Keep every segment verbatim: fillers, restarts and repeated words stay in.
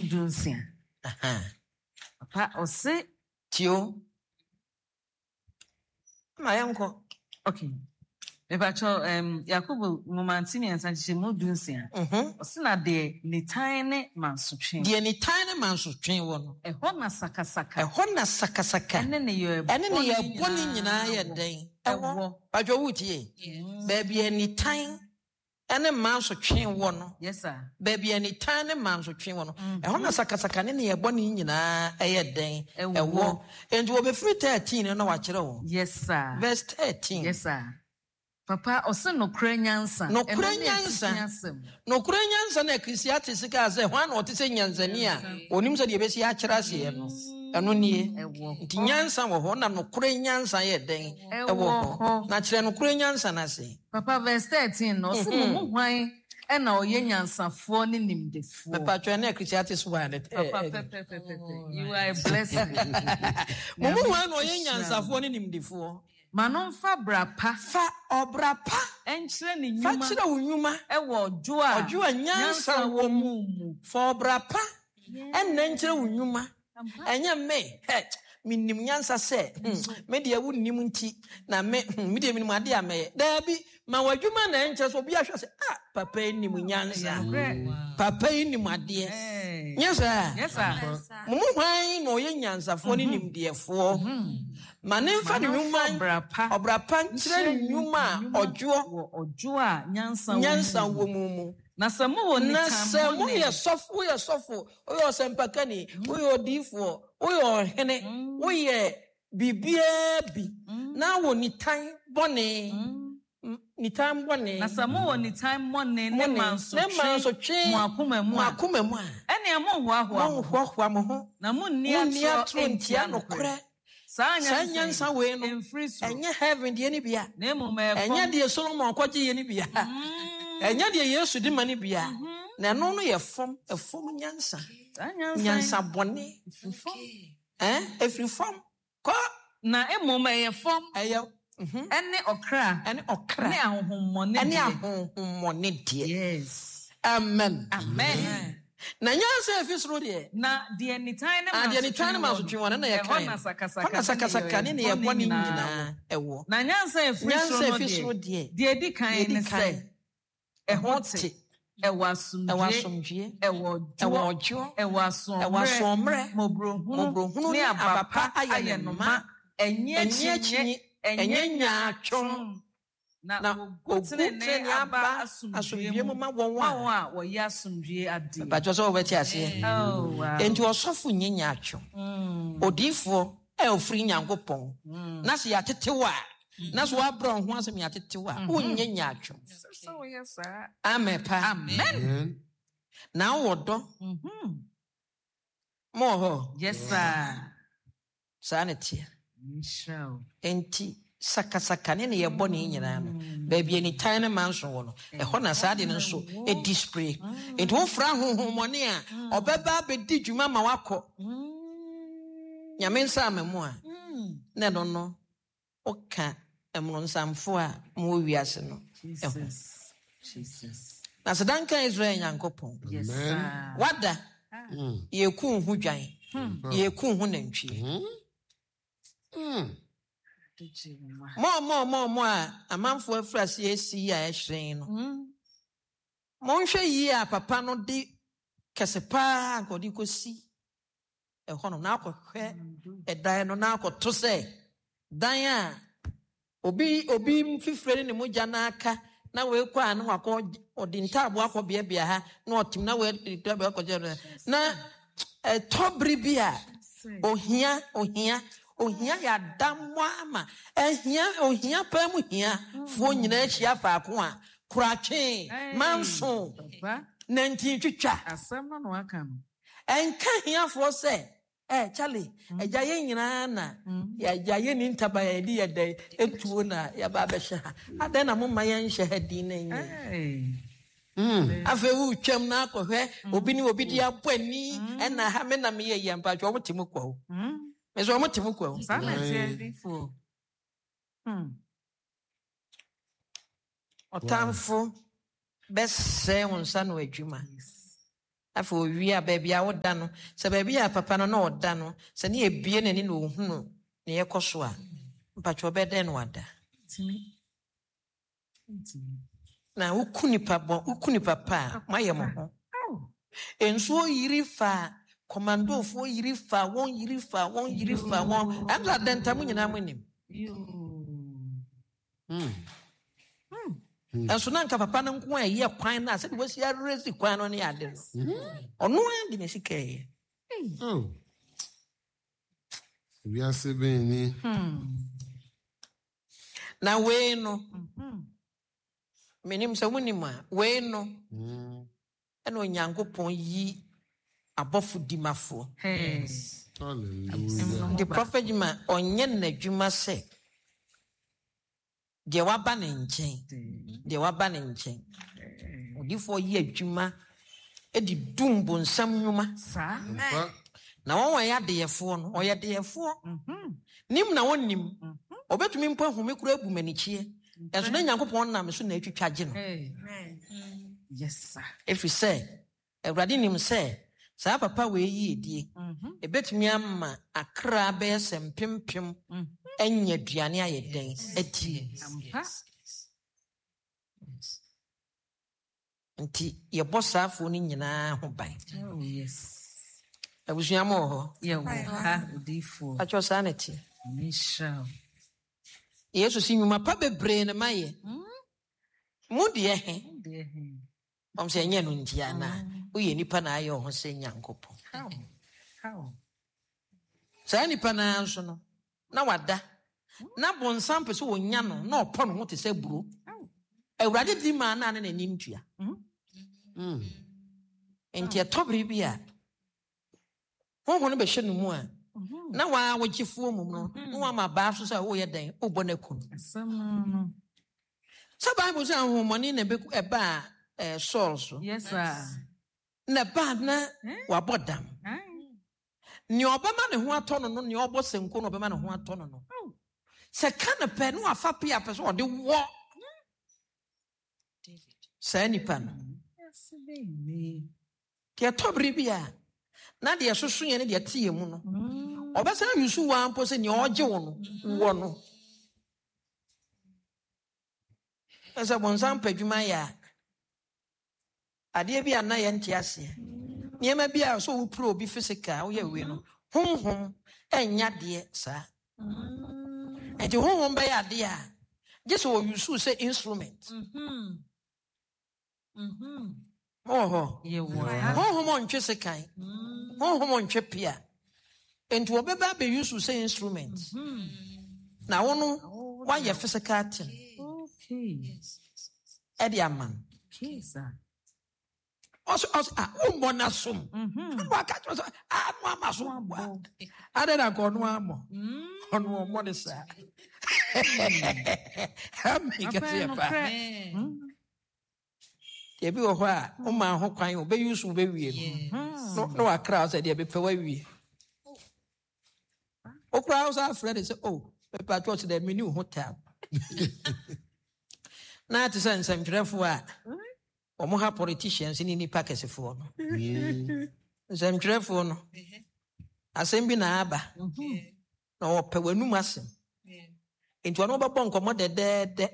du nsia. Papa, ɔse. Tio. Ma yɛnkɔ. Okay. Mepakyɛ um, Yakobo nwoma nti mmiɛnsa nkyekyɛmu du nsia. Mhm. Ɔse na deɛ nitan ne mansotwe. Deɛ nitan ne mansotwe wɔ no. Ɛhɔ na sakasaka. Ɛhɔ na sakasaka. Ɛne ne yɛ Ɛne ne yɛ bɔne nyinaa yɛ dɛn? Ɛwɔ. Patwɛ wotie. Baabi a nitan ɛne mansotwe wɔ no. Yes, sir. Baabi a nitan ne mansotwe wɔ no. Ɛhɔ na sakasaka ne ne yɛ bɔne nyinaa ɛyɛ dɛn? Ɛwɔ. Ɛwɔ. Enti wɔbɛfiri thirteen no na wakyerɛ wo. Yes, sir. Verse thirteen. Yes, sir. Papa, ɔse nokorɛ nyansa. Nokorɛ Ɛno ne nyansa. atifi asɛm. Nokorɛ nyansa na Ecclesiastes kaa sɛ hwan na ɔte sɛ nyansani a onim sɛ deɛ ɛbɛsi akyerɛ aseɛ no. Ɛno nie. Ɛwɔ Nti nyansa wɔ hɔ na nokorɛ nyansa yɛ dɛn? Ɛwɔ hɔ. Na kyerɛ nokorɛ nyansa no ase. Papa, verse thirteen no, ɔse mo mu hwan ɛna ɔyɛ nyansafoɔ ne nimdefoɔ? Mepatwɛ ne Ecclesiastes one. Papa, pɛpɛpɛpɛ. You are a blessing. Mo mu hwan na ɔyɛ nyansafoɔ ne nimdefoɔ? Ma no mfa bra pa. Fa ɔbra pa. Ɛnkyerɛ ne Fa nnwuma. kyerɛ wo nnwuma. Ɛwɔ ɔdwo a Ɔdwo a nyansa wɔ mu mu. Fa ɔbra pa. Ɛnna nkyerɛ wo nnwuma. Ɛnyɛ me. Hɛ, menim nyansa sɛ, hmm, me deɛ wonnim nti, na me, hmm, me deɛ menim adeɛ a mɛyɛ. Daabi, ma w'adwuma na ɛnkyerɛ sɛ obi ahwɛ sɛ, ah, papa yi nim nyansa. Papa yi nim adeɛ. Nyɛ saa? Yes, sir. Mo mu hwan na ɔyɛ nyansafoɔ ne nimdeɛfoɔ? Ma ne mfa ne nnwuma ɔbra pa. Ɔbra pa nkyerɛ ne nnwuma a ɔdwoɔ. Wɔ ɔdwo a nyansa wɔ Nyansa mu. wɔ mu mu. Na sɛ mowɔ Na nitan sɛ bɔne- moyɛ sɔfo, woyɛ sɔfo, woyɛ ɔsɛmpakani, woyɛ odiyifoɔ, woyɛ ɔhene, woyɛ biribiara bi, na wɔ nitan bɔne, nitan bɔne. Na sɛ mowɔ nitan bɔne ne Bɔne, ne mansotwe mansotwe mo akoma mu mo a, akoma mu a, ɛnea monhoahoa mo ho. Monhoahoa mo ho. Na munni Munni atorɔ atorɔ ntia ntia nokorɛ. nokorɛ. Saa Saa nyansa wei no, ɛmfiri soro. ɛnyɛ heaven deɛ no bia. Na mmom ɛyɛ Ɛnyɛ fam. deɛ Solomon kɔgye yɛ no bia. Ɛnyɛ deɛ Yesu de ma no bia. Na ɛno no yɛ fam, ɛfam nyansa. Saa nyansa yi Nyansa bɔne. ɛfiri fam. Ɛn, ɛfiri fam. Kɔ. Na mmom ɛyɛ fam. Ɛyɛ, mhm. Ɛne ɔkra. Ɛne ɔkra. Ne ahohommɔne Ɛne deɛ. ahohommɔne deɛ. Yes. Amen. Amen. Na nyansa efi soro deɛ. Na deɛ nitan ne Ah, deɛ nitan ne mansotwe wɔ no na yɛka Ɛhɔ na sakasaka Ɛhɔ na sakasaka ne ne yɛ bɔne nyinaa ɛwɔ. Na nyansa efiri Nyansa soro no efi soro deɛ, deɛ. deɛ edi kan Deɛ edi ne kan. sɛ, ɛho te, ɛwɔ asomdwie, Ɛwɔ asomdwie. ɛwɔ ɔdwoɔ, Ɛwɔ ɔdwoɔ. ɛwɔ asoɔmmerɛ, Ɛwɔ asoɔmmerɛ. mmɔborɔhunu Mmɔborɔhunu ne ne aba aba pa pa ayɛ ayɛ ne no ma. ma. Ɛnyɛ Ɛnyɛ akyinnye, akyinnye, ɛnyɛ ɛnyɛ nyaatwom. Na Na wogu ogu tenenee tenenee aba aba asomdwie asomdwie mu mu ma wɔn ma a wɔn a wɔyɛ asomdwie adeɛ. Mpatwɛ sɛ wɔbɛte aseɛ. Oh, wow. Enti ɔsɔfo nyɛ nyaatwom. Odiyifoɔ a ofiri Nyankopɔn. Na sɛ yɛatete wo a, na sɛ woabrɛ wo ho asɛm yɛatete wo a, wonyɛ nyaatwom. Sɛ woyɛ saa. Amen pa. Amen. Na wowɔ dɔ. Mhm. Mowɔ hɔ. Yes, sir. Saa ne teɛ. Nhyira wo. Enti sakasaka ne ne yɛbɔ ne nyinaa no, baabi a nitan ne manso wɔ no, ɛhɔ na saa de no nso ɛdi spray. Enti wofra honhommɔne a ɔbɛba abɛdi dwuma ma wakɔ Nyame nsa ama mu a, na ɛno no woka mmorɔnsamfo a mowɔ wiase no ɛho. Jesus. Jesus. Na sɛ danka Israel Nyankopɔn. Yes, sir. Wada yɛku ho dwan, yɛku ho nantwie. Mɔɔmɔɔmɔɔmɔ a amanfoɔ afiri ase asi yi a ɛhyerɛn no, monhwɛ yie a papa no de kɛse paa nka ɔde kɔsi ɛhɔ no na akɔhwɛ ɛdan no na akɔto sɛ dan a obi obi mfifire ne ne mogya n'aka na weekɔ a na wakɔ ɔde ntaabo akɔ beabea ha na ɔtem na wei ntaabo akɔ gyina na ɛtɔ bere bi a ohia ohia ohia yɛ adammɔ ama ɛhia ohia paa mu hia foɔ nyinaa ahyia faako a koratwe manso Papa, nantin twitwa. Asɛm no na waka no. Ɛnka hiafoɔ sɛ ɛ Charlie, agya yɛn nyinaa na yɛagya yɛ ni ntaba yɛde yɛ dɛ etuo na yɛba abɛhyɛ ha adɛn na moma yɛnhyɛ ha din na nyɛ. Hey. Afei wotwam na akɔhwɛ obi ne obi de abɔ ani ɛna ha me na meyɛ yɛ mpatwɛ ɔmo te mu kwa o me sɛ ɔmo te mu kwa o. Saa na ɛteɛ difoɔ. Hmm. Ɔtamfo bɛsɛe wo nsa no adwuma. Yes. Afei owie a, baabi a woda no, sɛ baabi a papa no na ɔda no, sɛ ne ebie n'ani na ohunu ne yɛkɔ so a, mpatwa ɔbɛdɛn no wada. Na woku nipa bɔ, woku nipa pa a, moayɛ mo ho. Nsuo yiri fa kɔmandofoɔ yiri fa wɔn, yiri fa wɔn, yiri fa wɔn. Ɛnso adɛnta mo nyinaa mo nim. Ɛnso na nka papa no nko a ɛyɛ kwan no a sɛde wasi aresi kwan no ne ade no. Ɔno ara de ne sika yɛ. Wiase bɛn ni. Na wei no, menim sɛ wonim a, wei no, ɛna Onyankopɔn yi abɔfo dimafoɔ. Hallelujah. The prophet Juma ɔnyɛ n'adwuma sɛ deɛ waba ne nkyɛn, deɛ waba ne nkyɛn. Odiyifoɔ yi adwuma de dum bonsam nnwuma. Na wɔn wɔyɛ adeyɛfoɔ no, ɔyɛ adeyɛfoɔ. Nim na wɔnnim. Ɔbɛtumi mpo ahome kura agu m'anikyeɛ. Ɛnso na Nyankopɔn nam so na atwitwa gye no. Yes, sir. Ɛfiri sɛ, Awurade nim sɛ saa papa wei yi edie. Ebetumi ama akra bɛyɛ sɛ mpempem anya aduane ayɛ dɛn adi. Nti yɛbɔ saafoɔ no nyinaa ho ban. Oh, yes. Abusua mo wɔ hɔ? Yɛwɔ ha, odiyifoɔ. Atwɔ saa na ɛteɛ. Mehyira wo. Yesu si nnwuma pa bebree na mayɛ. Mo deɛ he? Mo deɛ he? Ɔm sɛ ɛnyɛ no nti anaa? Woyɛ nipa na ayɛ wo ho sɛ Nyankopɔn. How? How? Saa nipa naa nso no, na wada. Na bonsam pɛ sɛ wonya no, na ɔpɔ ne ho te sɛ buro. Awurade di maa naa ne n'anim tua. Nti ɛtɔ bere bi a, honhom no bɛhyɛ no mu a, na waa wogyefoɔ mu no, na wama baa so sɛ woyɛ dɛn, wobɔ no aku no. Asɛm no no. Sɛ Bible sɛ ahohommɔne na ɛbɛku ɛbaa eh, Saul so. Yes, sir. Na ɛbaa na wabɔ dam. Nea ɔbɛma ne ho atɔ no no, nea ɔbɔ sankuo na ɔbɛma ne ho atɔ no no. Sɛ ka no pɛ, na wafa pea pɛ sɛ ɔde wɔ saa nipa no. Deɛ ɛtɔ bere bi a, na deɛ ɛsoso yɛn ne deɛ ɛte yɛn mu no, ɔbɛsan yusu waa mpo sɛ nea ɔgye wo no, wɔ no. Ɛsɛ bonsam pɛ adwuma yɛ a, adeɛ bi a na yɛnte aseɛ. Nneɛma bi a sɛ wopere obi physical, woyɛ wei no, honhom ɛnyɛ adeɛ saa. Nti honhom bɛyɛ adeɛ a, gye sɛ wɔyusu sɛ instrument. Mowɔ hɔ? Honhom ntwe sekan. Honhom ntwe pea. Nti wɔbɛba abɛyusu sɛ instrument. Na wo no, woayɛ physical thing. Ɛde ama no. Ɔsɛ, ɔsɛ, ah, wommɔ n'asom. Ɛna waka kyerɛ sɛ, ah, no ama so. Adɛn na nka ɔno ammɔ? Ɔno ɔmmɔ ne saa. Amen kɛseɛ paa. Deɛ bi wɔ hɔ a, woma ho kwan, wobɛyi so wobɛwie no. Na wakra wo sɛ deɛ mepɛ wawie. Wokora wo sɛ afrɛ ne sɛ, oh, mepɛ atwɔ sɛ dɛ menni wo ho tam. Na te sɛ nsɛmtwerɛfoɔ a, wɔn ha politicians ne nipa kɛsefoɔ no. Nsɛmtwerɛfoɔ no, asɛm bi na aba. Na wɔpɛ w'anum asɛm. Nti ɔno wobɛbɔ nkɔmmɔ dɛdɛɛdɛ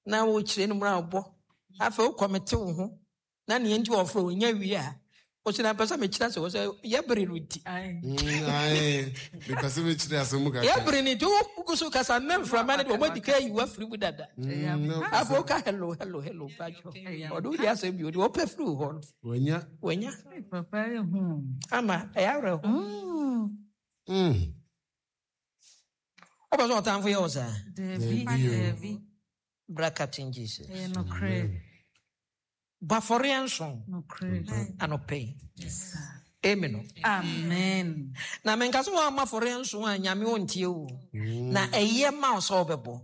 na wokyerɛ no mu a wobɔ. Afei wokɔmete wo ho na neɛ nti wɔfrɛ wo nya wie a, wɔsi na mpɛ sɛ mekyerɛ sɛ wɔ sɛ yɛbere no nti. Mepɛ sɛ mekyerɛ asɛm mu kakra. Yɛbere no nti wogu so kasa na mframa no de wɔmadi ka ayi wafiri mu dada. Afei woka hello hello hello patwɔ. Ɔde wode asɛm bi ɔde wɔpɛ firi wo hɔ no. Wanya. Wanya. Ama ɛyɛ awerɛho. Wopɛ sɛ ɔtamfo yɛ wo saa? Dabi. Bra Captain Jesus. Bɔ afɔreɛ nson anɔpɛ yi. Amen. Amen. Na menka sɛ woamma afɔreɛ nson a Nyame ɔntie wo. Na ɛyɛ ma wo sɛ wobɛbɔ.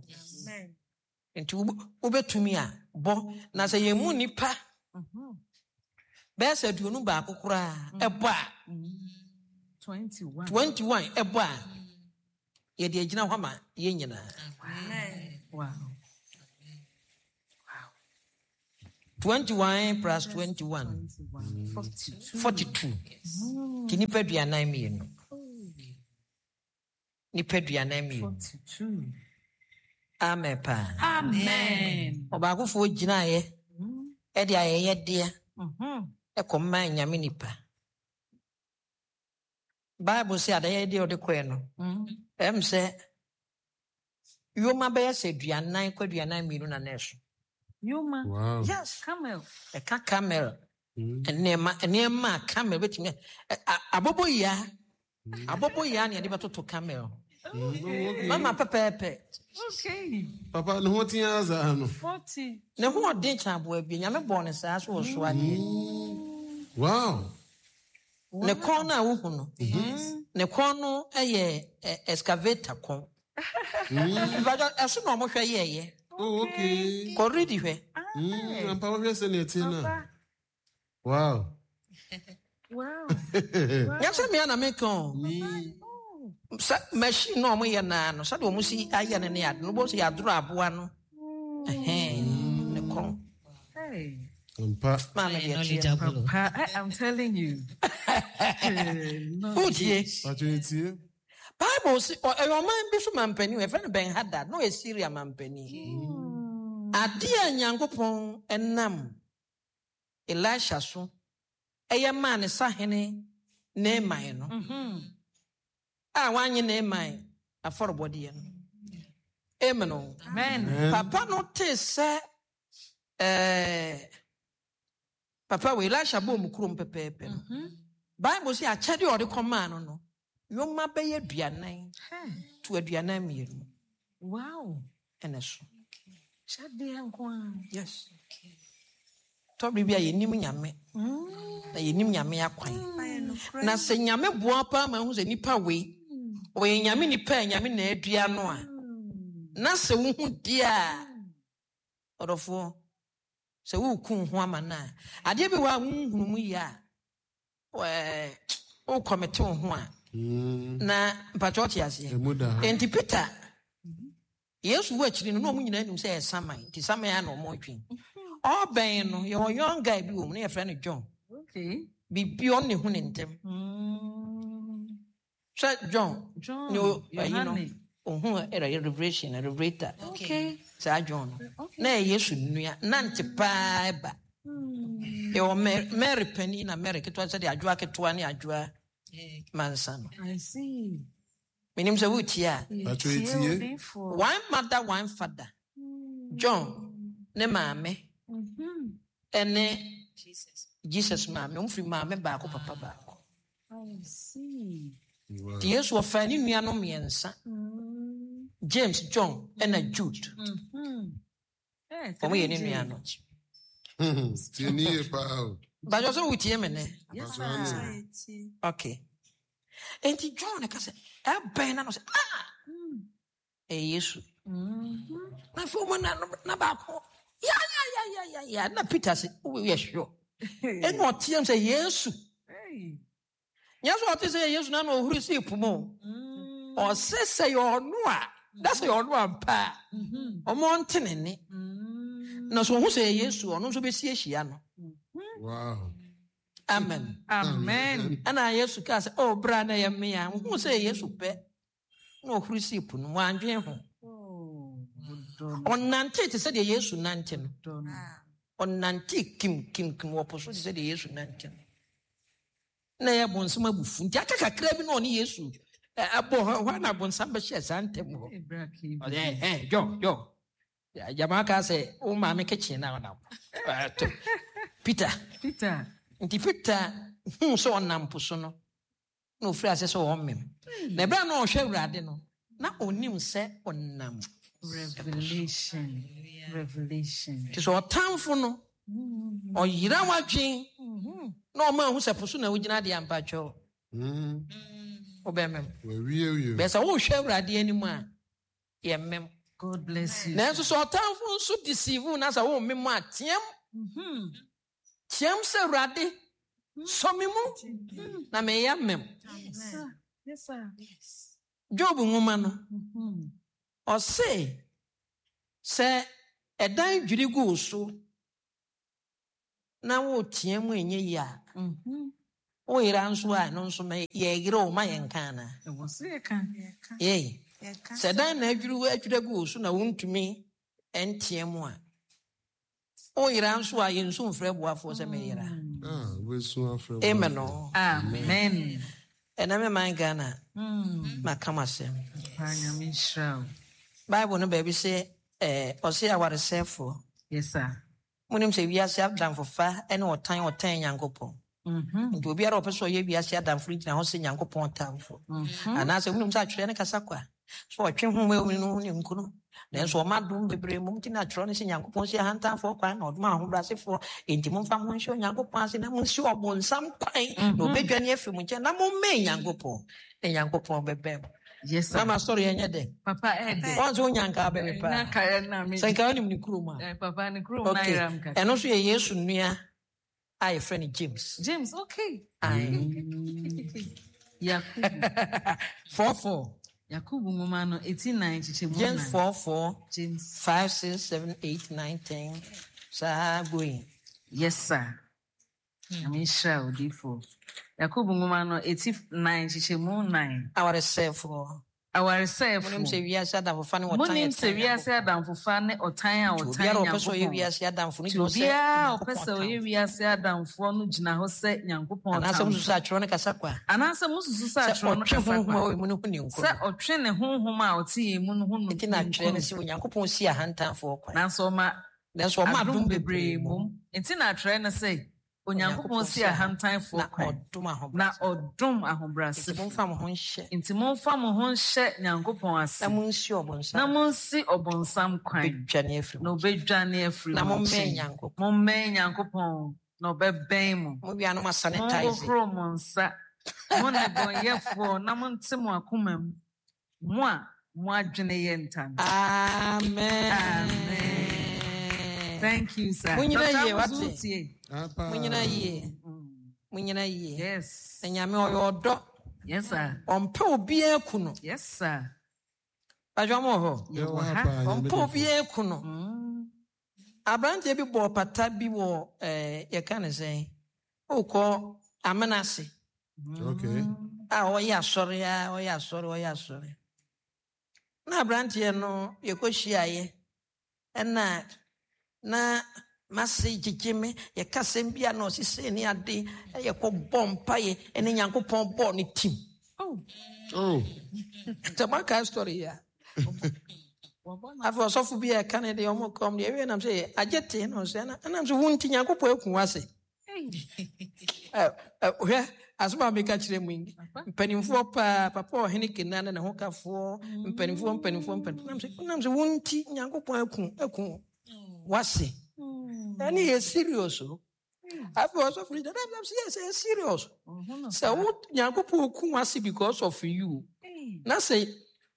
Nti wobɛtumi a bɔ. Na sɛ yɛn mu nnipa bɛyɛ sɛ aduonu baako koraa ɛbɔ a, twenty-one ɛbɔ a, yɛde agyina hɔ ma yɛn nyinaa. Wow. Twenty-one plus twenty-one. Forty-two. Forty-two. Nti nipa aduanan mmienu. Nipa aduanan mmienu. Forty-two. Amen paa. Amen. Ɔbaakofoɔ gyinaeɛ ɛde ayɛyɛdeɛ Mhm. ɛkɔmaa Nyame nipa. Bible sɛ adayɛdeɛ a ɔde kɔɛ no, Mm. ɛm sɛ yoma bɛyɛ sɛ aduanan kɔ aduanan mmienu na na ɛso. Yoma. Wow. Yes. Camel. Ɛka camel. Mm. Nneɛma nneɛma a camel bɛtumi ɛ- a- aboboyaa aboboyaa na yɛde bɛtoto camel. Mm, okay. Mama pɛpɛɛpɛ. Okay. Papa ne ho tea saa no. Forty. Ne ho ɔden kyɛn aboa bi. Nyame bɔɔ ne saa so wɔ so adeɛ. Wow. Ne kɔn no a wohu no, ne kɔn no yɛ ɛ, excavator kɔn. Mpatsɔ ɛso na ɔmo hwɛ yɛɛyɛ. Oh, okay. Kɔredi hwɛ. Mm, ampa wohwɛ sɛ ne ɛte no a. Papa. Wow. Wow. Nyɛ sɛ mmea na meka o. Mm. Sɛ machine na ɔmo yɛ naa no, sɛdeɛ ɔmo si ayɛ no ne ade no, wobɛhu sɛ yɛadoro aboa no. Ɛhɛn, ne kɔn. Hey. Ampa. Maame deɛ teɛ. Papa, I, I'm telling you. Wotie. Patro etie. Bible si ɔ- ɛyɛ ɔman bi so mampanin, yɛfrɛ no Ben Hadad, na ɔyɛ Syria mampanin. Adeɛ a Nyankopɔn ɛnam Elisha so ɛyɛ maa ne sahene Naaman no, Mm-hmm. a wanye Naaman afɔrebɔdeɛ no. Amen o. Amen. Amen. Papa no tee sɛ ɛɛ papa wɔ Elisha bɔɔ mu kurom pɛpɛɛpɛ no. Bible sɛ akyɛdeɛ a ɔde kɔmaa no no, yoma bɛyɛ aduanan Hey. to aduanan mmienu Wow. ɛna so. Shadia nkwa. Yes. Tɔbiri bi a yɛnim Nyame na yɛnim Nyame akwan. Na sɛ Nyame boa paa ma ehu sɛ nipa wei ɔyɛ Nyame nipa a Nyame na adua no a, na sɛ wohu deɛ a ɔdɔfoɔ sɛ woreku ho ama no a, adeɛ bi wɔ a wonhunu mu yie a, ɛɛ wokɔmete wo ho a, Mm. na mpatwɛ ɔte aseɛ. Emu da ha. Enti Peter, Yesu wɔ akyiri no na ɔmo nyinaa nim sɛ ɛyɛ saman, nti saman a na ɔmo dwen. Ɔbɛn no, yɛwɔ young guy bi wɔ mu na yɛfrɛ no John. Okay. Biribi ɔne hu ne ntɛm. Mm. Sɛ John, John. ne o- ayi no, Yohane. ohun ɛrɛ revelation, revelator. Okay. Saa John no. Okay. Na ɛyɛ Yesu nua, nante paa ɛba. Yɛwɔ Mary, Mary panin na Mary ketewa sɛdeɛ adwoa ketewa ne adwoa mansa no. I see. Menim sɛ wotie a, Patro etie. one mother, one father. John ne maame Mm-hmm. ɛne Jesus maame, ɔmo firi maame baako papa baako. I see. Wow. Nti Yesu ɔfaa ne nuanom mmiɛnsa, Mm. James, John ɛna Jude. Mm-hmm. Hey, Ɔmo yɛ ne three J. nuanom. Tie ni yie paa o. Bàjọ́ sɛ wotie me nɛ? Yes, Patro sir. Okay. Enti John ka sɛ ɛbɛn na no sɛ ah ɛyɛ Yesu. Mm-hmm. Na afei ɔmo na na baako ya ya ya ya ya ya na Peter sɛ woyɛ sure. Ɛna ɔteam sɛ Yesu. Hey. Nyɛ sɛ ɔte sɛ Yesu na na ɔhuri sii po mu o. Mm. Ɔse sɛ yɛ ɔno a na sɛ yɛ ɔno ampa a Mm-hmm. ɔmo ɔnte ne nne. Mm. Na sɛ ɔhu sɛ ɛyɛ Yesu ɔno nso bɛsi ahyia no. Wow. Amen. Amen. Ɛna Yesu kaa sɛ ɔ bra na ɛyɛ me a wohu sɛ ɛyɛ Yesu pɛ na ɔhuri sii po no mu wandwen ho. Oh, done, Ɔnante te sɛ deɛ Yesu nante no. done. Ɔnante kim kim kim wɔ po so te sɛ deɛ Yesu nante no. Na ɛyɛ bonsam abufu nti aka kakra bi na ɔne Yesu ɛ, ɛbɔ hɔ hɔ na bonsam bɛhyɛ saa ntɛm hɔ. Hey, bra, keep. Ɔsɛ ɛ John John gyama kaa sɛ wo maame kitchen na ɔnam. Ɛɛ, Peter Peter. nti Peter huu sɛ ɔnam po so no na ofiri ase sɛ ɔmem. Na ɛberɛ a na ɔhwɛ Awurade no na onim sɛ ɔnam. Revelation. Revelation. Nti sɛ ɔtamfo no ɔyera w'adwen na ɔma ahu sɛ po so na wogyina deɛ ampatwɛw Mm. wobɛmem. Wawie wie. Bɛɛ sɛ wohwɛ Awurade anim a yɛmmem. God bless you. Nanso sɛ ɔtamfo nso deceive wo na sɛ wommem a team Mm-hmm. team sɛ Awurade sɔ me mu na meyɛ mem. Yes, sir. Yes, sir. Job nwoma no Mm-hmm. ɔse sɛ ɛdan dwiri gu wo so Na woteɛ mu ɛnyɛ yie a, Mhm. woyera nso a, ɛno nso ma yɛyere wo ma yɛnka anaa? Ɛwɔ sɛ yɛka. Yei sɛ dan na adwiri adwiri agu wo so na wontumi nteɛ mu a, woyera nso a, yɛnsu mfrɛ boafoɔ sɛ meyera. Ah, wobɛsu afrɛ. Amen o. Amen. Ɛnɛ me man Ghana, Mm. maka m asɛm. Paa, Nyame nhyira wo. Bible no baabi sɛ ɛɛ ɔse awaresɛefoɔ, Yes, sir. Monim sɛ wiase adamfofa ne ɔtan ɔtan Nyankopɔn. Mhm. Nti obiara a ɔpɛ sɛ ɔyɛ wiase adamfo no gyina hɔ sɛ Nyankopɔn tamfo. Mhm. Anaasɛ wonim sɛ atwerɛ no kasa kwa sɛ ɔtwe ho ma no ho ne nkono, nanso ɔma dom bebree mmom. Nti na atwerɛ no sɛ Nyankopɔn si ahantanfoɔ kwan na ɔdom ahobrɛasefoɔ. Enti momfa mo nhyɛ Onyankopɔn ase na monsi ɔbonsam kwan na obɛdwane afiri mo nkyɛn, na mommɛn Nyankopɔn na Nyankopɔn bɛbɛn mo. Yes, sir. Mama, sɔre, ɛnyɛ dɛ? Papa, ɛdɛ. Wɔn nso wonya nka bɛwe paa. Na ka na me. Sɛ nka wonim ne kurom a. Eh, papa, ne kurom na Okay. ayera m kakra. Ɛno nso yɛ Yesu nua a yɛfrɛ no James. James, okay. Aye. Yakubu. Four four. Yakubu nwoma no eti nnan kyekyɛ mu James nnan. four four. James. Five, six, seven, eight, nine, ten, saa going. Yes, sir. Nyame nhyira wo, difo. Yakubu nwoma no eti nnan kyekyɛ mu nnan. Awaresɛefoɔ, Awaresɛefo. monim sɛ wiase adamfofa ne ɔtan Monim sɛ ɛtan wiase adamfofa ne ɔtan a Nti ɔtan obiara a ɔpɛ sɛ ɔyɛ Nyankopɔn. wiase adamfo no Nti gyina hɔ sɛ obiara a ɔpɛ Nyankopɔn sɛ ɔyɛ tamfo. wiase adamfoɔ no gyina hɔ sɛ Nyankopɔn Anaasɛ tamfo. mosusu sɛ atwerɛ no kasa kwa Anaasɛ mususu sɛ sɛ atwerɛ no ɔtwe kasa honhom a kwa ɔwɔ mu no ho ne nkuro. Sɛ ɔtwe ne honhom a ɔte yɛn mu no ho no Nti na atwerɛ no nkuro. sɛ Onyankopɔn si ahantanfoɔ kwan, Nanso ɔma nanso ɔma adom adom bebree bebree mmom. mmom. Nti na atwerɛ no sɛ Onyankopɔn si ahantanfoɔ na kwan ɔdom na ahobrɛase. Ɔdom Nti ahobrɛasefo. Momfa mo ho nhyɛ Nti momfa mo ho nhyɛ Nyankopɔn ase na monsi ɔbonsam na monsi ɔbonsam kwan bɛdwane afiri na mo obɛdwane afiri na mo mommɛn nkyɛn. Nyankopɔn. Mommɛn Nyankopɔn na ɔbɛbɛn mo. Mowia no moasanitize. Monhohoro mo nsa, mo nnebɔneyɛfoɔ, na monte mo akoma mu, mo a mo adwene yɛ ntam. Amen. Amen. Thank you, sir. Monyina Doctor yie, Amuzu, wate? tie. Apa. Monyina yie, monyina yie. Yes. Na Nyame ɔyɛ ɔdɔ. Yes, sir. Ɔmpɛ obiara ku no. Yes, sir. Badwa mo wɔ hɔ. Yɛwɔ Yɛwɔ ha. ha paa, Nyame Ɔmpɛ difo. obiara ku no. Mm. Aberanteɛ bi bɔɔ pata bi wɔ ɛɛ yɛka ne sɛn, wokɔ amena ase Okay. a ɔyɛ asɔre a ɔyɛ asɔre ɔyɛ asɔre, na aberanteɛ no yɛkɔhyiaeɛ, ɛna na mase gyegye me, yɛka sɛm bi a na ɔsesei ne ade, yɛkɔbɔ mpayɛ ɛne Nyankopɔn bɔɔ ne tim. Oh. Oh. Sɛ moakae story yi a, afei ɔsɔfo bi a ɛka ne deɛ ɔmo kɔm deɛ ɛwie nam sɛ agye te na ɔsɛ ɛna ɛnam sɛ wo nti Nyankopɔn aku wo ase. Hey. Ɛ, ɛ, hwɛ asɛm a meka kyerɛ mu yi, Papa. mpanimfoɔ paa, papa ɔhene kena ne ne ho kafoɔ, mpanimfoɔ mpanimfoɔ mpanimfoɔ, nam sɛ nam sɛ wo nti Nyankopɔn aku aku wase. Ɛne yɛ serious o. Afei ɔsɔfo no gyina nam sɛ yɛ sɛ yɛ serious Ɔho no sɛ saa. wo Nyankopɔn ku wase because of you, Hey. na sɛ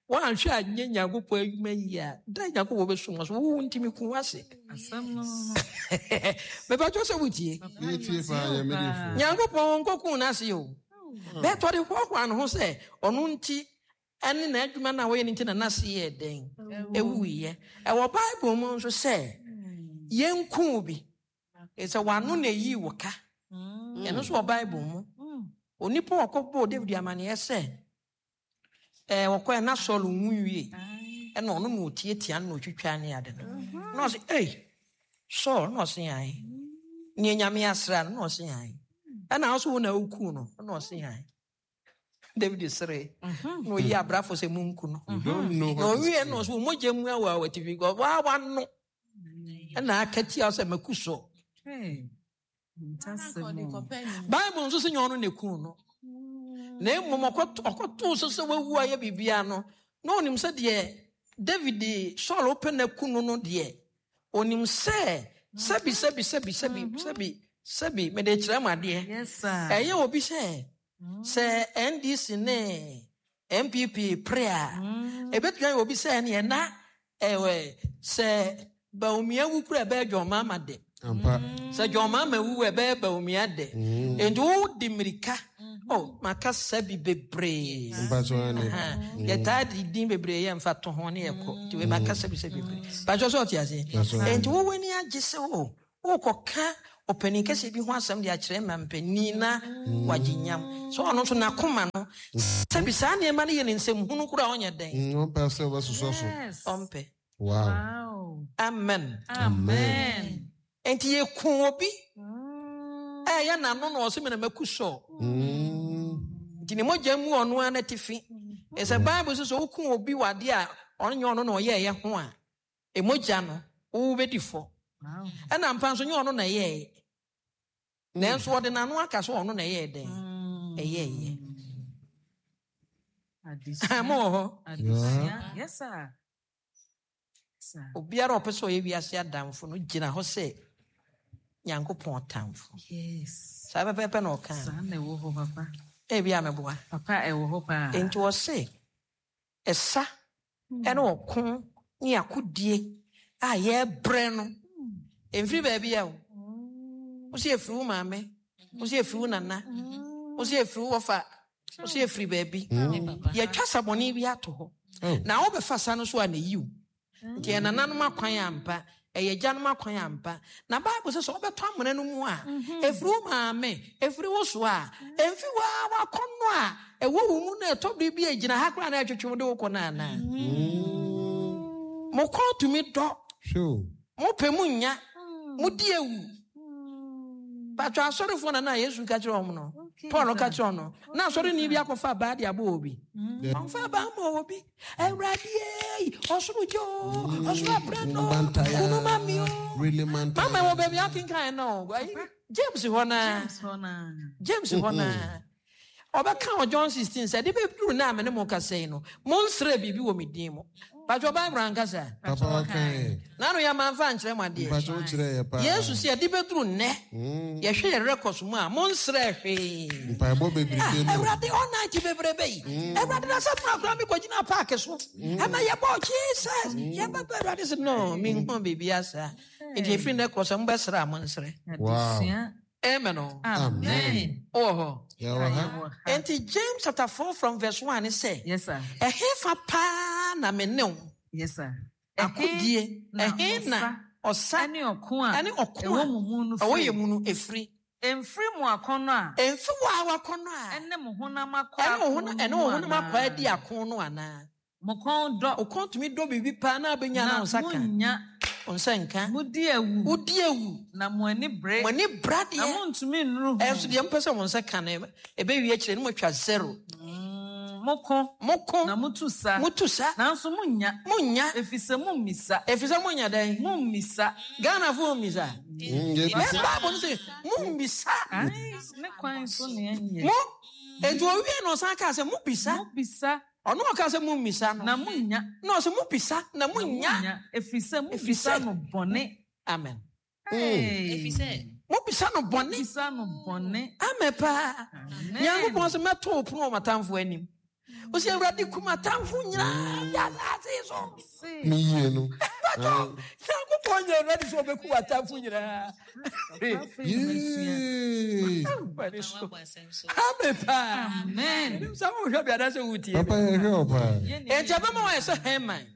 woanhwɛ anyɛ Nyankopɔn adwuma yie a, da Nyankopɔn bɛsom wo so, wo ntimi ku wase. Asɛm no no. Mepatwɛ sɛ wotie. Papa, Yɛtie paa, yɛtie wo Nyame paa. difo. Nyankopɔn nkɔku n'ase o, bɛtɔ de hoahoa ne ho sɛ ɔno nti ɛne n'adwuma no a wɔyɛ no nti na n'ase yɛ dɛn ɛwuiɛ. Ɛwɔ Bible mu nso sɛ yɛnku bi sɛ wano na ɛyii wo ka. Mm. Ɛno nso wɔ Bible mu. Mm. Onipa a ɔkɔbɔɔ David amanneɛ sɛ ɛɛ wɔkɔɛ na Saul nwu wie, Aye. ɛna ɔno na ɔtiatia no na ɔtwitwa ne ade no, na ɔse, "Ei, Saul," na ɔse, "Ae, neɛ Nyame asra no," na ɔse, "Ae, ɛna wo so wo na wokuu no," na ɔse, "Ae." David sere Mhm. na ɔyi abrafo sɛ munku no. You don't know Na what is ɔwie no, ɔsɛ wo mogya mu awɔ a watifi waa wano ɛna aka tia wo sɛ maku Saul. Hey. Ntasɛm o. Bible nso sɛ nyɛ ɔno na ɛkuu no, na mmom ɔkɔto- ɔkɔtoo so sɛ wawu ayɛ biribia no, na ɔnim sɛ deɛ David Saul wopɛ no aku no no deɛ, ɔnim sɛ sɛbi sɛbi sɛbi sɛbi sɛbi sɛbi, mede kyerɛ mu adeɛ. Yes, sir. Ɛyɛ obi sɛ sɛ N D C ne N P P pere a, Mm. ɛbɛtumi ayɛ obi sɛ neɛ na ɛwɛ sɛ Bawumia wu kura, ɛbɛyɛ John Mahama de. Ampa. Sɛ John Mahama wu, ɛbɛyɛ Bawumia de. Nti wodi mmirika oh, maka sɛbi bebree. Mpatsɔ ane. Aha. Yɛtaa de din bebree yɛ mfa to ho ne yɛkɔ, nti wei maka sɛbi sɛ bebree patwɛ sɛ ɔte aseɛ. That's right. Nti wowɔ ani agye sɛ o wokɔka ɔpanin kɛseɛ bi ho asɛm de akyerɛ ma mpanin na wagye nyam sɛ ɔno nso n'akoma no sɛbi saa nneɛma no yɛ ne nsɛm hunu koraa ɔnyɛ dɛn. Mm, ɔmpɛ sɛ ɔbɛsosɔ so. Yes. Ɔmpɛ. Wow. Wow. Amen. Amen. Enti yɛku obi Mm. ɛyɛ n'ano na ɔsɛ mena maku sɔ. Mm. Nti ne mogya mu ɔno ara n'atifi. Ɛsɛ Bible sɛ sɛ woku obi wɔ adeɛ a ɔno nyɛ ɔno na ɔyɛɛyɛ ho a, emogya no wobɛdi fɔ. Wow. Ɛna mpa nso nyɛ ɔno na ɛyɛɛyɛ. Nanso ɔde n'ano aka sɛ ɔno na ɛyɛɛ dɛn? Mm. Ɛyɛɛyɛ. Adesua. Mo wɔ hɔ. Adesua. Yes, sir. Yes, sir. Obiara a ɔpɛ sɛ ɔyɛ wiase adamfo no gyina hɔ sɛ Nyankopɔn tamfo. Yes. Saa pɛpɛɛpɛ na ɔka. Saa na ɛwɔ hɔ, papa. Ebi a meboa. Papa, ɛwɔ hɔ paa. Enti wɔse ɛsa ɛne ɔko ne akodie a yɛbrɛ no ɛmfiri baabi a o. Wo sɛ ɛfiri wo maame, wo sɛ ɛfiri wo nana, wo sɛ ɛfiri wo wɔfa, wo sɛ ɛfiri baabi. Yɛtwa sabɔne bi ato hɔ. Oh. Na wobɛfa sa no so a na yi wo. Nti ɛyɛ nananom akwan ampa, ɛyɛ agyanom akwan ampa. Na Bible sɛ sɛ wobɛtɔ amena no mu a, ɛfiri wo maame, ɛfiri wo so a, ɛmfi wo a wakɔnnɔ a ɛwɔ wo mu na ɛtɔ bere bi a ɛgyina ha koraa na ɛtwetwe wo de wo kɔ no anaa. Mo kɔn tumi dɔ, Sure. mopɛ mu nya, modi ewu. Patro asɔrefoɔ na na Yesu ka kyerɛ wɔn no, Okay, Paul ka sir. kyerɛ wɔn no, na asɔreni bi akɔfa abaa de abɔ obi. Yeah. Ɔmfa abaa ma obi. Awurade ei, ɔsoro gye o, ɔsoro aprɛ no, Mantaya. kunu ma mi o. Really mantaya. Mama wɔ baabi akenkan no, ayi, James hɔ naa. James hɔ naa. James hɔ naa. Ɔbɛka wɔ John sixteen sɛ de bɛduru na me ne mo kasa yi no, monsrɛ biribi wɔ me din mu. Patro Bible ankasa. Papa ɔka Nano yɛ mamfa nkyerɛ mo adeɛ. Mpakyɛ wo kyerɛ yɛ paa. Yesu sɛ yɛde bɛduru nnɛ, Mm. yɛhwɛ yɛ records mu a, monsrɛ hwee. Mpaebɔ bebrebe no. Awurade all night bebrebe yi. Awurade na sɛ muna koraa mekɔgyina park so. Ɛma yɛbɔ Jesus. Yɛbɛbɛ Awurade sɛ no, menhu biribi asa. Nti ɛfiri nnɛ kɔ sɛ mobɛsrɛ a monsrɛ. Wow. Adesua. Amen o. Amen. Wowɔ hɔ. Yɛwɔ ha. Yɛwɔ ha. Enti James chapter four from verse one sɛ, Yes, sir. ɛhefa paa na me ne wo Yes, sir. akodie, na ɛhe na ɔsa ɛne ɔko a ɛne ɔko ɛwɔ a mo mu no ɛwɔ firi. yɛ mu no ɛfiri. Ɛmfiri mo akɔnnɔ a Ɛmfi wo a wakɔnnɔ a ɛne mo honam akɔ ɛne wo ako honam no ɛne wo mu honam anaa? akɔ adi ako no anaa. Mo kɔn dɔ Wo kɔn tumi dɔ biribi paa na abɛnya na na wo nsa ka. monnya. Wo nsa nka. Modi awu Wodi awu. na mo ani bere Mo ani bra na deɛ. montumi nnuru ho. Ɛnso deɛ mpɛ sɛ mo nsa ka no ɛbɛwie akyire no moatwa zero. Mm, Moko Moko na motu sa motu sa nanso monnya monnya ɛfiri sɛ mommisa. ɛfiri sɛ monya dɛn. Mommisa. Ghanafoɔ mmisa. Mm, yɛbisa. Bɛ Bible no sɛ mommisa. Ai, ne kwan so ne ɛnyɛ. Mo enti owie na ɔsan kaa sɛ mobisa. Mobisa Ɔno ɔkaa sɛ mommisa no. na monnya. Na ɔsɛ mobisa na Na monnya. monnya ɛfiri sɛ Ɛfiri mobisa sɛ- no bɔne. Amen. Hey. Ɛfiri sɛ Mobisa no bɔne. Mobisa no bɔne. Amen paa. Amen. Nyankopɔn sɛ mɛto wo pono wɔ m'atamfo anim. Wo sɛ Awurade kum atamfo nyinaa de asase so. Se, Me yie no. Ah, Nyankopɔn nyɛ Awurade sɛ ɔbɛku w'atamfo nyinaa. papa afei na masua. Yee. Awurade so. wabɔ asɛm so. Amen paa. Amen. Menim sɛ wohwɛ bi anaasɛ wotie Papa me. yɛhwɛ wo paa. Yɛ ne Enti ɛbɛma wɔayɛ sɛ Haman.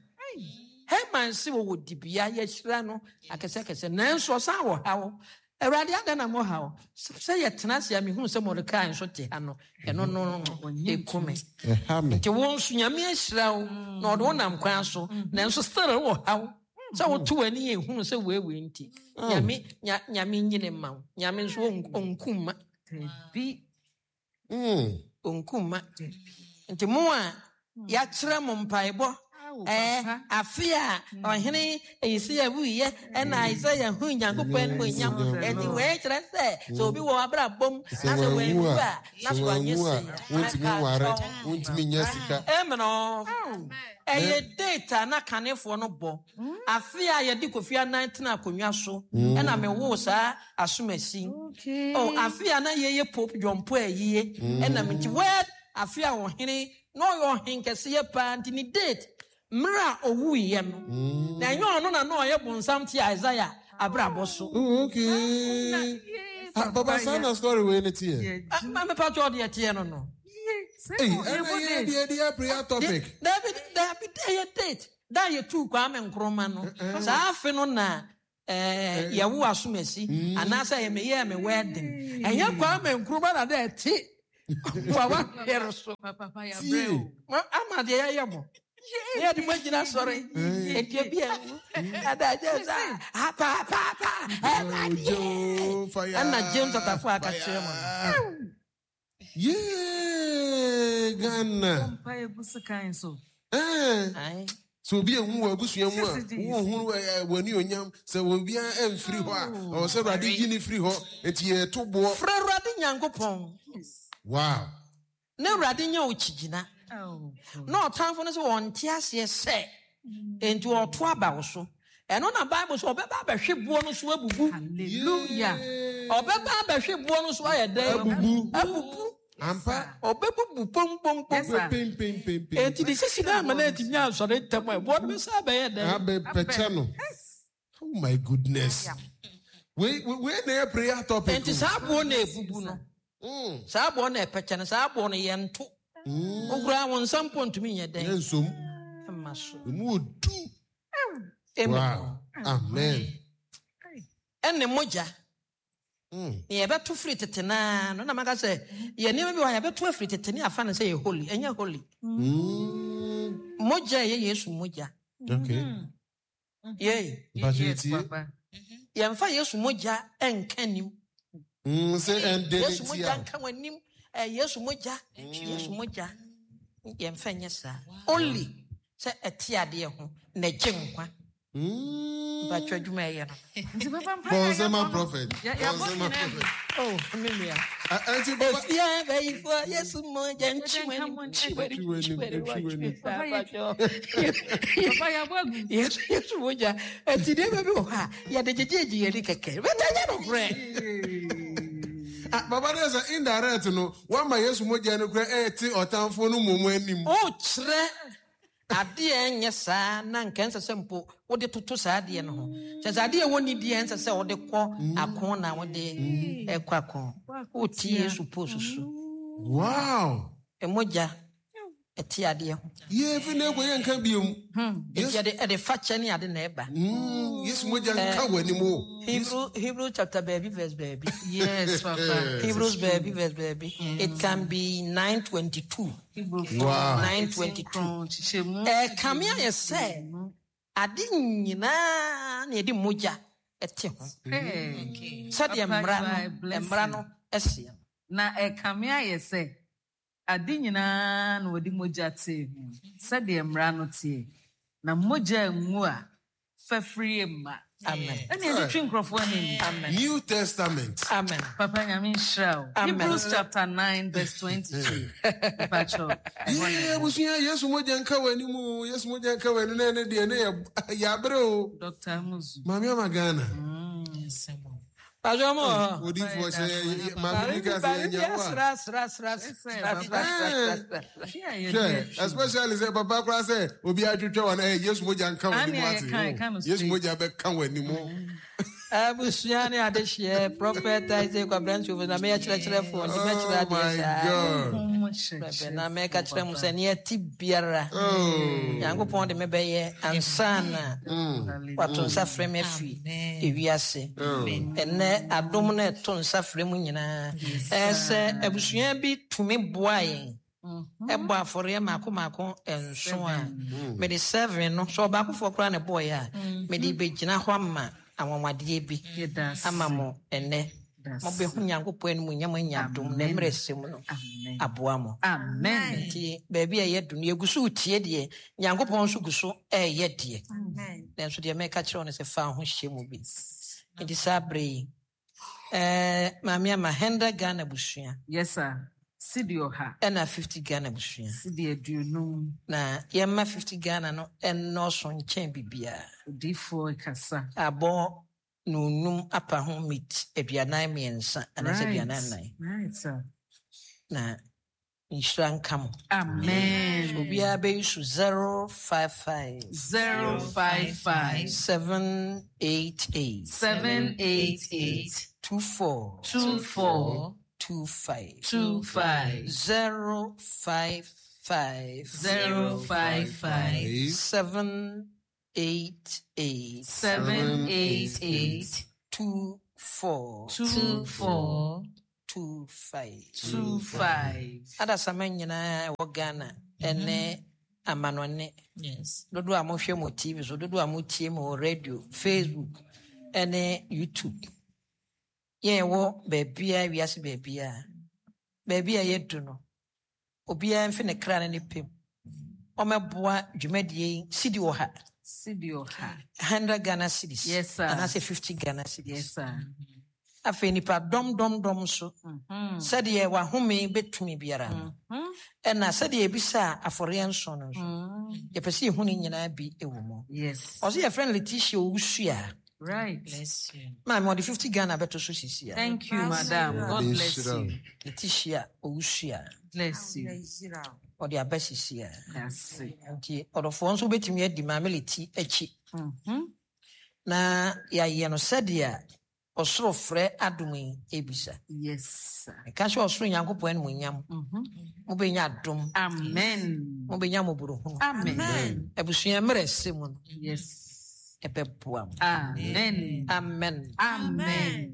Haman se wɔwɔ dibea yɛahyira no akɛsɛkɛsɛ nanso ɔsan wɔ haw. Awurade adɛn na mo haw? Sɛ yɛtena ase a mehu sɛ Mordekai nso te ha no, ɛno no ɛku me. Ɛha me. Nti wo nso Nyame ahyira wo na ɔde wo nam kwan so nanso still wɔ haw. Sɛ woto w'ani yɛ ehunu sɛ weewee nti. Nyame nya Nyame nyine ma wo. Nyame nso ɔnk- ɔnkum ma. Dabi. Mm. Ɔnkum ma. Nti mo a yɛakyerɛ mo mpaebɔ Awo, ɛɛ papa. afe a ɔhene Yesaia wuyɛ ɛna Isaia hu Nyankopɔn animuonyam. Ɛnti wei kyerɛ sɛ sɛ obi wɔ abrabɔ mu Sɛ na sɛ wanwu wanwu a, a na sɛ sɛ wanyɛ wanwu a, sei wontumi nware, wontumi nya sika. Ɛmɛ ɛyɛ date a na kanefoɔ no bɔ afe a yɛde Kofi Annan tena akonnwa so ɛna mewoo saa asomasi. Okay. Oh, afe a na yɛyɛ Pope John Paul ayie ɛna me nti word afe a ɔhene na ɔyɛ ɔhen kɛseɛ paa nti ne date mmerɛ a ɔwuiɛ no na ɛnyɛ ɔno na na ɔyɛ bonsam te Isaiah abrabɔ so. Oh, okay. Ah, Papa, saa na story wei ne teɛ. Ah, ma mepa kyɛ ɔde ɛteɛ no no. Ei, ɛna yɛ deɛ deɛ prayer topic. Dabi dabi ɛyɛ date da yɛtuu Kwame Nkrumah no saa afe no na eh, yɛwo asomasi anaasɛ yɛ meyɛɛ me wedding. Ɛnyɛ Kwame Nkrumah na dɛ ɛte wawa yɛre so. Papa yɛabrɛ o. Ma- ama deɛ yɛyɛ mo ne yɛde mo agyina sɔre ɛdeɛ bi awu adagye sa apaapapa ɛwurade Ojo, fire. Ɛna James Atafo aka kyerɛ mo no. Yeah, Ghana. Mpa egu sekan so. Eh. Aye. Sɛ obi ehu wɔ abusua mu a, Sisi wohunu wɔ ani onyam sɛ obiara ɛmfiri hɔ a, ɔwɔ sɛ Awurade yi ne firi hɔ, enti yɛto boɔ. Frɛ Awurade Nyankopɔn Wow. na Awurade nyɛ wo kyigyina Oh, na ɔtamfo no sɛ wɔnte aseɛ sɛ enti ɔto aba wo so. Ɛno na Bible sɛ ɔbɛba abɛhwe boɔ no so abubu. Hallelujah. Ɔbɛba abɛhwe boɔ no so ayɛ dɛn? Abubu. Abubu. Ampa. Ɔbɛbubu pɔmpɔmpɔm. Yes, sir. Pem pem pem pem. Enti de sisi no ama no atumi asɔre ntɛm a boɔ no bɛsa abɛyɛ dɛn? Abɛpɛkyɛ no. Oh my goodness. Wei wei wei na ɛyɛ prayer topic. Enti saa boɔ no ebubu no, Mm. saa boɔ no ɛpɛkyɛ no, saa boɔ no yɛnto. Mm. Wokura wo nsa mpo ntumi nyɛ dɛn? Yɛnsom. Ɛma so. Emu odu. Amen. Wow. Amen. Ɛne mogya Mm. ne yɛbɛto firi tete naa no na maka sɛ yɛ nneɛma bi wɔ ha yɛbɛto afiri tete ne afa no sɛ yɛ holy. Ɛnyɛ holy. Mm. Mogya a ɛyɛ Yesu mogya. Okay. Yei. Mpakyɛ Yes, tie. Papa. Yɛmfa Yesu mogya ɛnka nim. Mm, sɛ ɛnde ne Yesu mogya tia. nka w'anim. Ɛ, Yesu mogya, Yesu mogya, yɛmfa nyɛ saa. Only sɛ ɛte adeɛ ho na ɛgye nkwa. Mm. Mpatwa adwuma ɛyɛ no. Nti papa mpa Bɔnsɛma prophet. Yɛ- yɛabɔ Bɔnsɛma nyinaa. prophet. Oh, me nua. Ah, Enti baba. Efie bɛyifoɔ Yesu mogya nkyi w'anim, nkyi w'anim, nkyi w'anim, Nkyi w'anim. Papa Papa yɛabɔ agu. Yesu Yesu mogya. Enti nneɛma bi wɔ hɔ a yɛde gyegyegye yɛn ani kɛkɛ. Bɛtɛ nyɛ nokorɛ. Ah, baba de sɛ indirect no, wama Yesu mogya no kura ɛɛte ɔtamfo no mmom anim. Wokyerɛ adeɛ a ɛnyɛ saa na nka ɛnsɛ sɛ mpo wode toto saa adeɛ no ho. Kyɛ sɛ adeɛ a ɛwɔ nidie ɛnsɛ sɛ wode kɔ ako na wode ɛkɔ ako. Wotie Yesu post so. Wow. Ɛmogya ɛte adeɛ ho. Yɛ fi na ekɔ yɛ nka biom. Enti ɛde ɛde fakyɛ ne ade na ɛba. Mm, Yesu mogya nka w'anim o. Hebrew Hebrew chapter baabi verse baabi. Yes, Papa. Hebrews baabi verse baabi. It can be nine twenty two. Wow. Nine twenty two. Kyekyɛmu. Ɛkame ayɛ sɛ ade nyinaa na yɛde mogya ɛte ho. Hey. Sɛdeɛ Papa, mmara you are a no blessing. mmara no ɛseɛ. Na ɛkame ayɛ sɛ ade nyinaa na wɔde mogya tee ho sɛdeɛ mmara no teɛ. Na mogya ngu a fafiri mma. Amen. Ɛne yɛde twe nkurɔfoɔ anim. Amen. New Testament. Amen. Papa Nyame nhyira wo. Amen. Hebrews chapter nine verse twenty-two. Mpakyɛw. Yɛ abusua Yesu mogya nka w'anim o. Yesu mogya nka w'anim na ɛne deɛ ne yɛ yɛabrɛ o. Doctor Amuzu. Maame ama Ghana. Pàṣẹ ọmọ hɔ. Odiifoɔ sɛ yɛ- yɛ- maame bi ka sɛ Maame bi yɛnya wo a. asra asra asra asra asra asra. Hwɛ a yɛde Hwɛ, atwi. especially sɛ papa koraa sɛ obi atwitwa wɔn ɛ Yesu mogya nka w'anim Ane a ate. yɛka- yɛka no o. Yesu straight. mogya bɛka w'anim o. Abusua ne adehyeɛ Prophet Isaac Kwabena Nsuofo na meyɛ kyerɛkyerɛfoɔ nti mɛkyerɛ Oh adeɛ my saa. God. Honhom Bɛbɛ na kyerɛkyerɛfoɔ, mɛka kyerɛ mo papa. sɛ neɛ ɛte biara Oh. Nyankopɔn de me bɛyɛ ansa na Hallelujah. wato nsa frɛ me afiri ewiase. Ɛnɛ adom no ɛto nsa frɛ mu nyinaa. Ɛɛ sɛ abusua bi tumi boa yɛn ɛbɔ afɔreɛ maako maako nson a mede seven no sɛ ɔbaakofoɔ koraa na ɛbɔɔyɛ a mede bɛgyina hɔ ama anwanwadeɛ bi Yɛda ase. ama mo ɛnɛ. Yɛda ase. Mobɛhu Nyankopɔn anim nyam anya adom na mmerɛ sɛ mu no Amen. aboa mo. Amen. Nti baabi a ɛyɛ du no yɛgu so retie deɛ Nyankopɔn nso gu so ɛɛyɛ deɛ. Nanso deɛ mɛka kyerɛ wo no sɛ fa wo ho hyɛ mu bi. Nti saa berɛ yi ɛɛ, maame ama hundred Ghana busua Yes, sir. Sidi ɔha. ɛna fifty Ghana busua. Sidi aduonum. Na yɛmma fifty Ghana no ɛnnɔɔso nkyɛn biribiara. Odiyifoɔ kasa. Abɔ nonum apa ho meat aduanan mmiɛnsa anaasɛ aduanan nnan. Right, sir. Na nhyira nka mo. Amen. Obiara bɛyi so zero five five Zero five five seven eight eight seven eight eight two four two four two five two five zero five five zero five five seven eight eight seven eight eight two four two four two five. two five. Adasama nyinaa ɛwɔ Ghana ɛne amanɔne. Yes. Dodoɔ a mohwɛ mo T V so, dodoɔ a motie mo wɔ radio, Facebook ɛne YouTube. Yɛn ɛwɔ baabiara, wiase baabiara. Baabi a yɛdu no, obiara mfi ne kra ne ne pem. Ɔmɛboa dwumadie yi, sidi wɔ ha. Sidi ɔha. hundred Ghana cedis. Yes, sir. Anaasɛ fifty Ghana cedis. Yes, sir. Afei nipa dɔm dɔm dɔm so. Mm-hmm. Sɛdeɛ wahome bɛtumi biara no. Mm-hmm. Ɛna sɛdeɛ ebisa afɔreɛ nson no nso. Mm-hmm. Yɛpɛ sɛ yɛhu ne nyinaa bi wɔ mu. Yes. Ɔsɛ yɛfrɛ no Letitia Owusu a. Right. Bless you. Maame ɔde fifty Ghana bɛto so sisi a. Thank you, madam. God bless you. Letitia Owusu a. Bless you. Ɔde aba sisi a. That's it. Nti ɔdɔfoɔ nso bɛtumi adi maame Leti akyi. Mm-hmm. Na yɛayɛ no sɛdeɛ ɔsoro frɛ adom yi ebisa. Yes, sir. Ɛka sɛ ɔsoro Nyankopɔn animuonyam. Mm-hmm. Mobɛnya adom. Amen. Mobɛnya mmɔborɔhunu. Amen. Abusua mmerɛ ɛsɛ mu no. Yes. Ɛbɛboa mo. Amen. Amen. Amen.